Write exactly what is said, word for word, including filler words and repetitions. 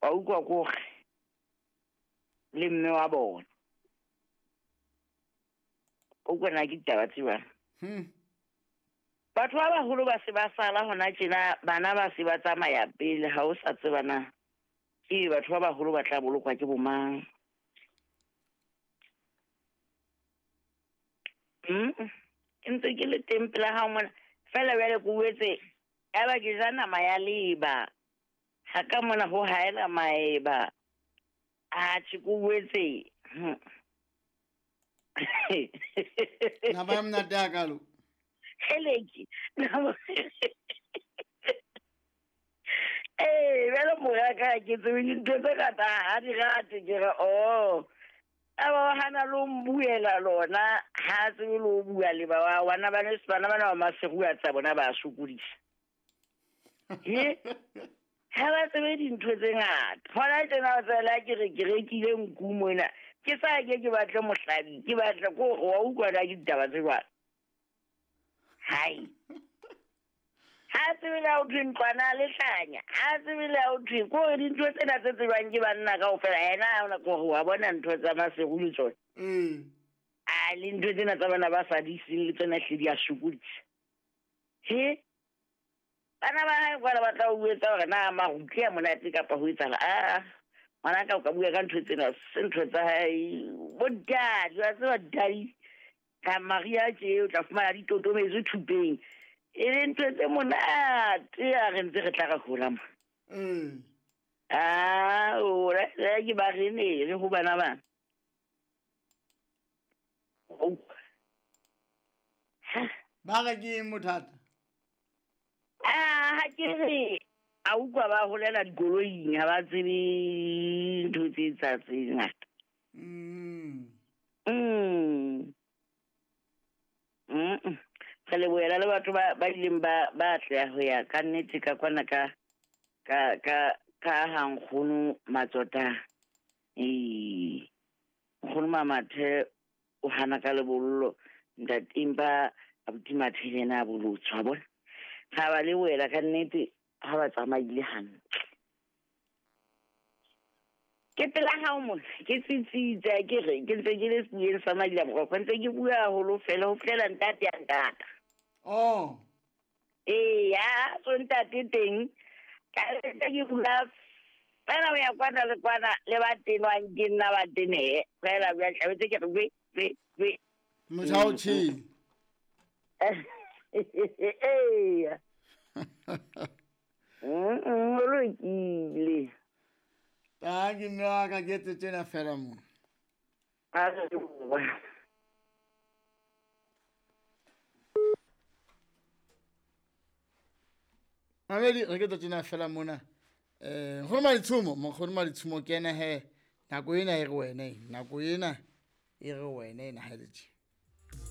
Wa utlwa kore le mme wa bona. O utlwa na ke ditaba tse jwang? Hmm. Batho ba baholo ba se ba sala hona tjena, bana ba se ba tsamaya pele, ha o sa tseba na ke batho ba baholo ba tla bolokwa ke bomang. Mm. Ke ntse ke le teng pela hao mona. Feela jwale ke boetse, ya ba ke ja nama ya leba. Ha ka mona ho haela maeba. Atjhe, ke boetse. Hmm. Nama ya monate hakalo. Heleke. Nama. Eh, jwale mora ka ke tsebe dintho tse ngata ha di rate, ke re, oh. A ba hana lo mbuela lona, ha tsebe lo bua le ba wa, bana ba ne, bana bana ba maseru a tsa bona ba sokodisa. He? Ha ba tsebe dintho tse ngata. Hona tjena o tsela ke re ke rekile nku mona. Ke sa ke ke batle mohlabi, ke batle ko wa utlwa na ke ditaba tse jwalo. Hai. Ha tsebe le ha ho thwe ntlwana a lehlanya. Ha tsebe le ha ho thwe ko re dintho tsena tse tsebjwang ke banna kaofela, yena ha hona ko re wa bona ntho tsa Maseru le tsona. Mm. A le ntho tsena tsa bana ba sa di seng le tsona hle di a sokodisa. He? Bana ba hae kwana ba tla o etsa hore na marutle a monate kapa ho etsahala. Ah, ngwana ka o ka bua ka ntho tsena, se ntho tsa hae. Bo daddy, wa tseba daddy. Ka Maria tje o tla fumana di totometswe thupeng. E le ntho tse monate ha re ntse re tla re hola mo. Mm. Ah, o re ke ba re ne re ho bana bana. Oh. Ba re ke eng bothata? Ah, ha ke re a utlwa ba holela dikoloing, ha ba tsebe ntho tse tsa tse ngata. Mm. Mm. Mm. Re lebohela le batho ba, ba ileng ba, ba atleha ho ya ka nnete ka kwana ka, ka, ka, ka ha nkgono Matsota. Ee. Nkgono Mamathe o hana ka lebollo, ntate empa abuti Mathe le yena a bolotswa, wa bona. Ha ba lebohela ka nnete ha ba tsamaile hantle. Ke pela hao mona, ke tsitsitse, ke re, ke ntse ke le sebueng sa Madila Moroko, ntse ke bua haholo fela, ho fihlela ntate a ntata. Oh. Ee, ya, so ntate teng, ka ntse ke bua fela ho ya kwana le kwana, le ba tenwang ke nna ba tenehe, fela bua, tlametse ke re, we, we, we. Motjha o tjhele. Ee. Mm, o lokile. Ta ke mme wa ka ke etse tjena fela mo. A re ke bua. Mamedi, re ke tlo tjena fela mona. Eh, nkgono Maditshumo, nkgono Maditshumo ke ena he. Nako ena e re wena e, nako ena e re wena ena ha le tje.